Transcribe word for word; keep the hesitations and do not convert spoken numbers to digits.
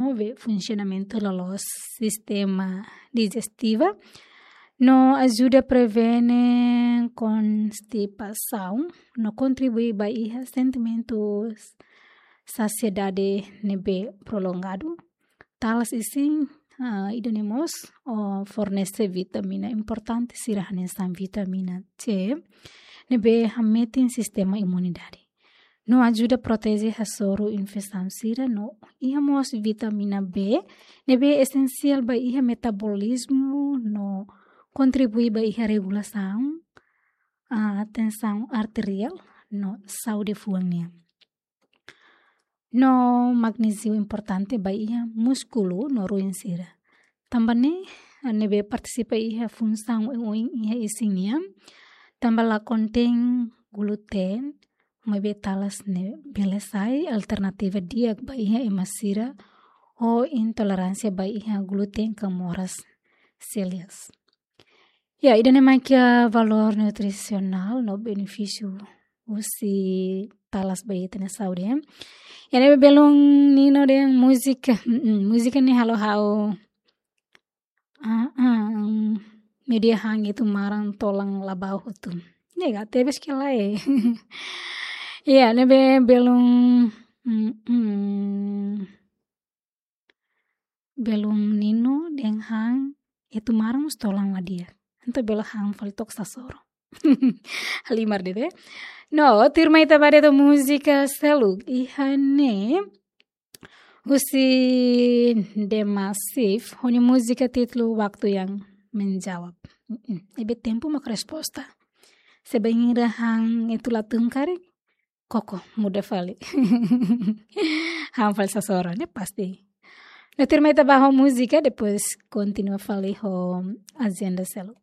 promove funsionamentu loloos sistema dijestiva, no ajuda prevene konstipasaun, no kontribui ba iha sentimentu sasiedade ne'ebé prolongadu. Talas isin, ah, ida-ne'e mós, oh, fornese vitamina importante sira hanesan vitamina C, ne'ebé hametin sistema imunidade. No ajuda proteje hasoru infesaun sira no iha mós vitamina B, ne'ebé esensiál ba iha metabolizmu no kontribui ba iha regulasaun, ah, tensaun arteriál no saúde fuan nian. No magnéziu importante ba iha múskulu no ruin sira. Tanba ne'e, ne'ebé partisipa iha funsaun oioin iha isin nian, tanba la kontein gluten, maibé talas ne'e bele sai alternativa di'ak ba iha ema sira ho intoleránsia ba iha gluten ka moras, celiakia. Ya, ida-ne'e mak iha valór nutrisionál no benefísiu husi talas ba ita-nia saúde, ya. Ya, ne'e belun Nino dehan múzika. Mm-mm, múzika ne'e halo ha'u, ah, ah, media han iha tumaran tolan la bau hotu. Ne'e ga tebes ke lae. Ya, ne'ebé belun, mm-mm. Belun Nino dehan han iha tumaran mós tolan la di'ak. Entaun bele han fali to'ok sasoro. Halimar de'it, eh? No, tuirmai ita ba de'it múzika seluk. Iha ne'e husi The Massive, ho nia múzika títulu Waktu Yang Menjawab. Mm-mm. Ne'ebé tempu mak resposta. Se bainhira han atu la tun karik, koko, muda fali. Han fali sasoro, ne'e pasti. No, tuirmai ita ba ho múzika, depois kontinua fali ho ajenda seluk.